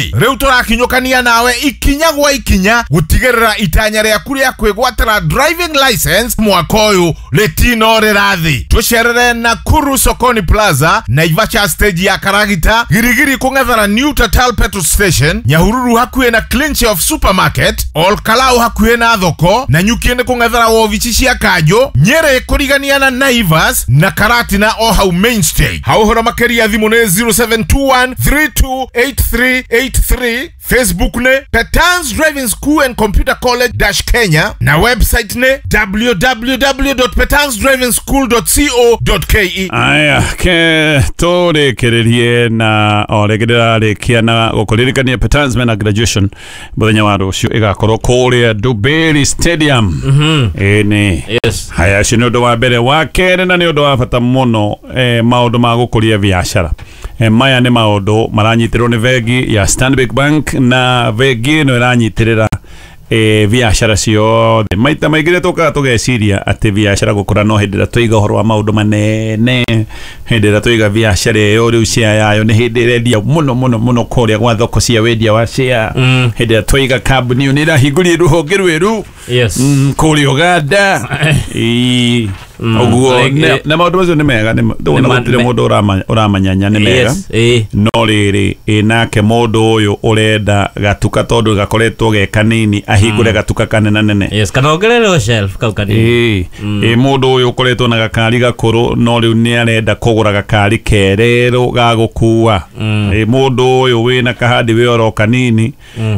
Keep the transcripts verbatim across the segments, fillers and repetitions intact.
Rĩu tũrakinyũkania nawe ikinya gwa ikinya gũtigĩrĩra itanya rĩaku rĩa kwĩgwatĩra driving license mwaka ũyũ rĩtinorĩra thĩ. Tũcerere Nakuru Sokoni Plaza, Naivasha stage ya Karagita, Girigiri kũng'ethera New Total Petrol Station, Nyahururu hakuhĩ na Clean Shelf Supermarket, Ol Kalou hakuhĩ na thoko, na Nyuki nĩ kũng'ethera wobici cia Kanjũ, Nyeri kũrigania na Naivas na Karatina o hau main stage. Hau ũhoro makĩria thimũ nĩ zero seven two one three two eight three eight three, Facebook nĩ Petans Driving School and Computer College dash Kenya na website nĩ w w w dot petans driving school dot co dot k e. Aya, ke tũrĩkĩrĩrie na o rĩngĩ ndĩrarĩkia na gũkũririkania Petans mena graduation mũthenya wa rũciũ ĩgakorwo kũrĩa Dubai Stadium. Mhm. Ĩĩ. Yes. Haya, ũcio nĩ ũndũ wa mbere. Wa kerĩ na nĩ ũndũ wa bata mũno, eh, maũndũ ma gũkũria biacara. Eh, maya nĩ maũndũ maranyitĩrĩrwo nĩ bengi ya Stanbic Bank na bengi ĩno ĩranyitĩrĩra eh, biacara ciothe. Maita maingĩ rĩrĩa tũkaga tũgeciria atĩ biacara gũkũra no hĩndĩ ĩrĩa twaiga ũhoro wa maũndũ manene, hĩndĩ ĩrĩa twaiga biacara ĩyo rĩu share yayo nĩ hĩndĩ ĩrendia mũno mũno mũno kũrĩa gwa thoko cia wendia wa share. Mm. Hĩndĩ ĩrĩa twaiga kambuni ĩyo nĩ ĩrahingũrire rũhonge rwerũ Yes. mm, kũrĩa Uganda. Ĩĩ. Mm. Ũguo Like, na- na maũndũ macio nĩ mega, nĩ ma- ndũona Nĩ ma- gũtirĩ me- mũndũ ũrama- ũramanyanya nĩ mega. Yes. Ĩĩ. No rĩrĩ ĩ nake mũndũ ũyũ ũrenda gatuka tondũ gakoretwo ge kanini ahingũre gatuka kanenanene. Yes, kana ongererwo shelf kau kanini. Ĩĩ. Ĩ mũndũ ũyũ ũkoretwo na gakari gakũrũ no rĩu nĩ arenda kũgũra gakari kererũ ga gũkua. Ĩ mũndũ ũyũ wĩna kahandi wĩ oro kanini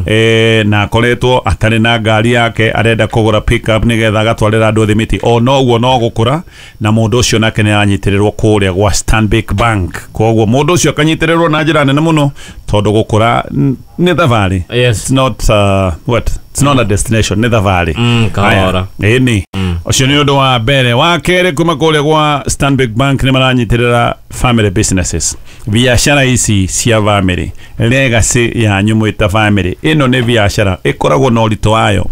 eh, na akoretwo atarĩ na ngari yake arenda kũgũra pickup nĩgetha agatwarĩra andũ thimiti, o noguo no gũkũra na mũndũ ũcio nake nĩ aranyitĩrĩrwo kũrĩa gwa Stanbic Bank. Koguo mũndũ ũcio akanyitĩrĩrwo na njĩra nene mũno tondũ gũkũra n- nĩ thabarĩ. Yes. It's not, uh, what? It's not a destination, nĩ thabarĩ. Mm, kahora. Aya, ĩni. Ũcio nĩ ũndũ wa mbere. Wa kerĩ kuma kũrĩa gwa Stanbic Bank nĩ maranyitĩrĩra family businesses. Biacara ici cia family, legacy yanyu mwĩta family, ĩno nĩ biacara ĩkoragwo na ũritũ wayo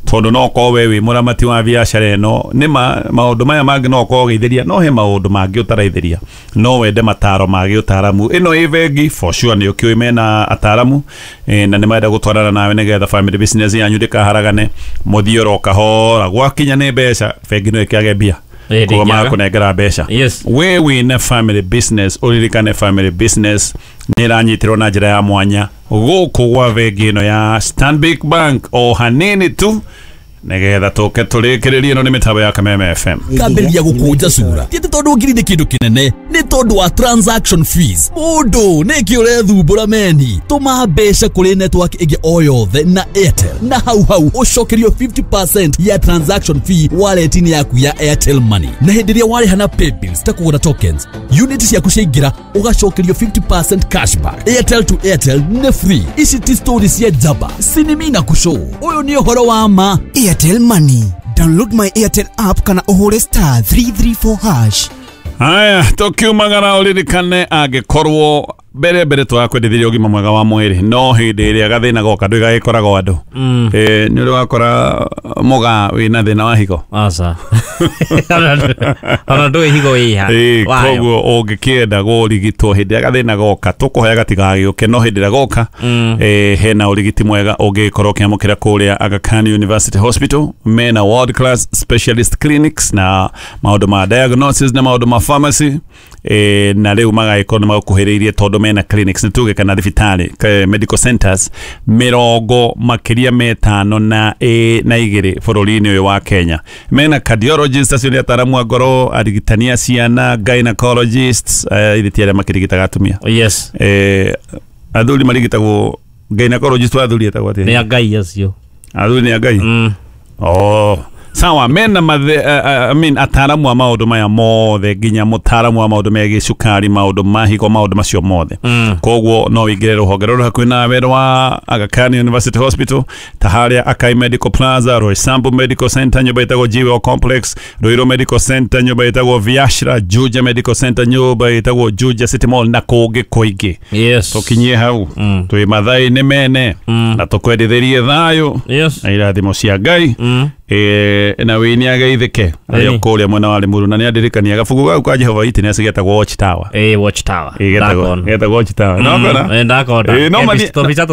tondũ no ũkorwo we wĩ mũramati wa biacara ĩno, nĩ ma maũndũ maya mangĩ no ũkorwo ũgĩithĩria, no he maũndũ mangĩ ũtaraithĩria, no wende mataro ma gĩũtaramu. Ĩno ĩ bengi for sure nĩ ũkĩũĩ mena ataramu eh, na nĩ marenda gũtwarana nawe nĩgetha family business yanyu ndĩkaharagane, mũthiĩ oro kahora. Gwakinya nĩ mbeca, bengi no ĩkĩage mbia Ĩĩ, koguo ndĩngĩaga. magakũnengera mbeca. Yes. We wĩna family business, ũririkane family business nĩ ĩranyitĩrwo na njĩra ya mwanya gũkũ gwa bengi ĩno ya Stanbic Bank o hanini tu nĩgetha tũke tũrĩkĩrĩrie. Ĩno nĩ mĩtambo ya Kameme F M. Kambĩrĩria gũkũnja cura ti atĩ tondũ ngiri nĩ kĩndũ kĩnene, nĩ tondũ wa transaction fees. Mũndũ nĩkĩ ũrethumbũra meni? Tũma mbeca kũrĩ network ĩngĩ o yothe na Airtel na hau hau ũcokerio fifty percent ya transaction fee wallet-inĩ yaku ya Airtel Money. Na hĩndĩ ĩrĩa warĩha na paybills ta kũgũra tokens, unit ciaku ciaingĩra ũgacokerio fifty percent cashback. Airtel to Airtel nĩ free. Ici ti story cia njamba, sinimi na kũshow. Ũyũ nĩ ũhoro wa ma. Airtel Money. Download my Airtel app kana ũhũre star three three four hash. Haya, tũkiumagara ũririkane angĩkorwo mbere mbere tũrakwendithirie ũgima mwega wa mwĩrĩ, no hĩndĩ ĩrĩa gathĩna goka ndũigagĩkoragwo andũ. Eh, nĩ ũrĩ wakora mũgaa wĩna thĩna wa higo? Aca. Ona ndũĩ higo ĩha. Ĩĩ, Wayo. koguo ũngĩkĩenda kũrigitwo hĩndĩ ĩrĩa gathĩna goka, tũkũhoya gatigagĩũke, no hĩndĩ ĩrĩa goka eh, hena ũrigiti mwega ũngĩkorwo ũkĩamũkĩra kũrĩa Aga Khan University Hospital. Mena world class specialist clinics na maũndũ ma diagnosis na maũndũ ma pharmacy, eh, na rĩu magagĩkorwo nĩ magũkuhĩrĩirie tondũ mena clinics, nĩ tuge kana thibitarĩ, eh, medical centers mĩrongo makĩria metano na ĩ, na igĩrĩ bũrũri-inĩ ũyũ wa Kenya. Mena cardiologists, acio nĩ ataramu a ngoro, arigitani a ciana, gynecologists, eh, ithe ti arĩa makĩrigitaga atumia. Yes. Eh, athuri marigitagwo gynecologist wa athuri etagwo atĩa? Nĩ a Ngai acio. Athuri nĩ a Ngai? Mm. Oh. Sawa, mena mathe, uh, uh, I mean, ataramu a maũndũ maya mothe, nginya mũtaramu wa maũndũ megiĩ cukari, maũndũ ma higo, maũndũ macio mothe. Mm. Koguo no wĩingĩre rũhonge rũrũ hakuhĩ nawe rwa Aga Khan University Hospital, ta harĩa Akai Medical Plaza, Roysambu Medical Center, nyũmba ĩtagwo Jewel Complex, Ruiru Medical Center, nyũmba ĩtagwo Viashra, Juja Medical Center, nyũmba ĩtagwo Juja City Mall na kũngĩ kũingĩ. Yes. Tũkinyie hau Mm. twĩ mathaa-inĩ mene Mm. na tũkwendithĩrie thayũ Yes. na irathimo cia Ngai. Mm. Eh, na wĩ nĩ ageithĩke arĩ o Ĩni. kũrĩa mwena wa Limuru na nĩ andirikania gabuku gau ka Jehova Witness getagwo Watch Tower. Ĩĩ, Watch Tower. Ĩ, getagwo Ndakona. getagwo Watch Tower. No kona? Mm, ndakona. Ĩ, no mani- Tũbica